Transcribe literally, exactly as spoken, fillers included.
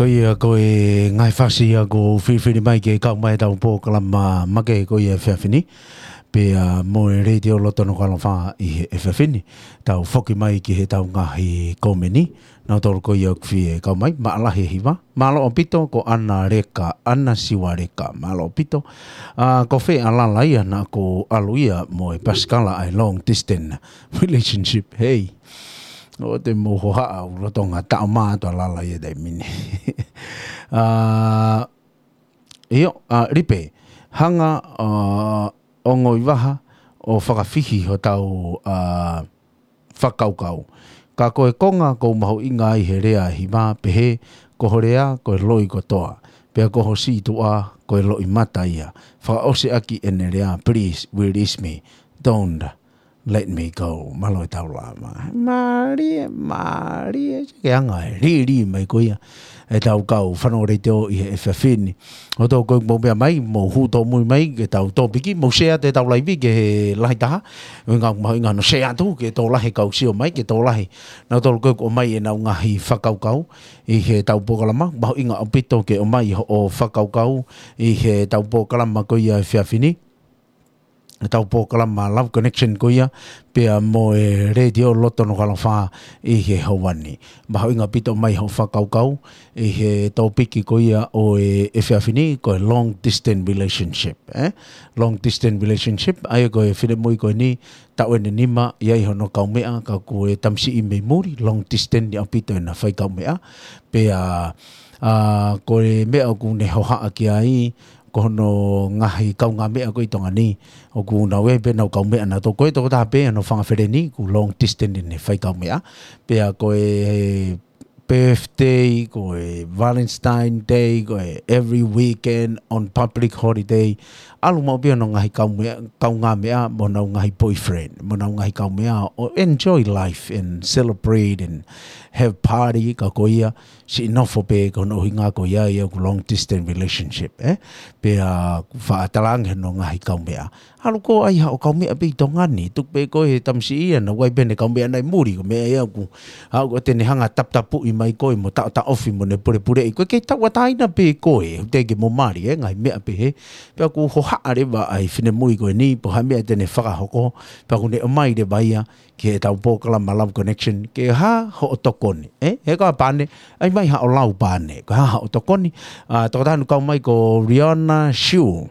Ko ia ko e ngaahi fasi ia ʻoku filifili mai ke kau mai ʻetau polokalama make ko ia he efiafi ni. Pea mo e Letiō Loto Nukuʻalofa ʻi he efiafi ni. Tau foki mai ki heʻetau ngaahi komeni. Nautolu ko ia ʻoku fie kau mai, mālō e hiva. Mālō ʻaupito ko ʻAna Leka, ʻAna Siua Leka, mālō ʻaupito. ʻA, ko fē ʻa Lala ia naʻa ku ʻalu ia mo e pasikala ʻa e long distance relationship. Hei. ʻOua te mou hohaʻa ʻoku lolotonga taʻomaʻa atu ʻa Lala ia he taimi ni. ʻA, ʻio, ʻa, Lipe, hanga, ʻa, ʻo ngoi vaha ʻo fakafihi hotau, ʻa, fakakaukau. Ka ko e konga ʻoku mahuʻinga ai he lea ʻa e hiva pehē, ko ho lea ko e loi kotoa. Pea ko ho sītuʻa ko e loʻimata ia. Fakaʻosi ʻaki ʻene lea, please release me. Don't let me go. Mālō e tau lama. Mālie, mālie, ke anga e lili mai ko ia ʻetau kau fanongo Letiō ʻi he efiafi ni. ʻOku tau kau mo pea mai, mou hū tōmui mai ki heʻetau tōpiki, mou share atu ʻetau laivi ki he lahi taha. ʻUhinga ʻoku mahuʻinga hono share atu ke tokolahi e kau sio mai, ke tokolahi. Nautolu ko ē ʻoku ʻomai ʻenau ngaahi fakakaukau ʻi heʻetau polokalama. Mahuʻinga ʻaupito ke ʻomai hoʻo fakakaukau ʻi heʻetau polokalama ko ia he efiafi ni. ʻEtau polokalama Love Connection ko ia, pea mo e Letiō Loto Nukuʻalofa ʻi he houa ni. Mahuʻinga ʻaupito ʻomai hoʻo fakakaukau ʻi he tōpiki ko ia ʻo e efiafi ni, ko e long distance relationship, ē? Long distance relationship, ʻa ia ko e finemui ko eni, taʻu ʻe nima, ʻi ai hono kaumeʻa, ka ko e tamasiʻi mei muli, long distance ʻaupito ʻena fai kaumeʻa. Pea, ʻa, ko e meʻa ʻoku ne hohaʻa ki ai, ko hono ngaahi kaungāmeʻa ko ē ʻi Tonga ni, ʻoku nau ʻi ai pē ʻenau kaumeʻa nautolu, ko e tokotaha pē ʻa hono fanga feleni, ʻoku long distance ʻene fai kaumeʻa. Pea ko e birthday, ko e Valentine Day, ko e every weekend on public holiday. ʻAlu maʻu pē hono ngaahi kaumeʻa, kaungāmeʻa, mo ʻenau ngaahi boyfriend, mo ʻenau ngaahi kaumeʻa, ʻo enjoy life and celebrate and have party, ka ko ia, siʻi nofo pē ko hono ʻuhinga ko ia ia ʻoku long distance relationship, ē? Pea ʻoku faʻa talaange hono ngaahi kaumeʻa. ʻAlu koe ʻai haʻo kaumeʻa pē ʻi Tonga ni, tuku pē koe he tamasiʻi ia, naʻa ʻi ai pē ʻene kaumeʻa naʻe muli, ko e meʻa ia ʻoku, ʻa, ʻoku te ne hanga ʻo taputapuʻi mai koe mo taʻotaʻofi mo ne pulepuleʻi koe, kei tauʻatāina pē koe, ʻoku teʻeki ke mo mali, ē, ngaahi meʻa pehē. Pea ʻoku hohaʻa leva ʻa e finemui ko eni, pe ko e hā e meʻa te ne fakahoko, pea ʻoku ne ʻomai leva ia, ki heʻetau polokalama Love Connection, ke hā hoʻo tokoni, ē? He ko e pane, ʻai mai haʻo lau pane, ko e hā hoʻo tokoni, ʻa, tokotaha naʻe kau mai ko Riona Shu.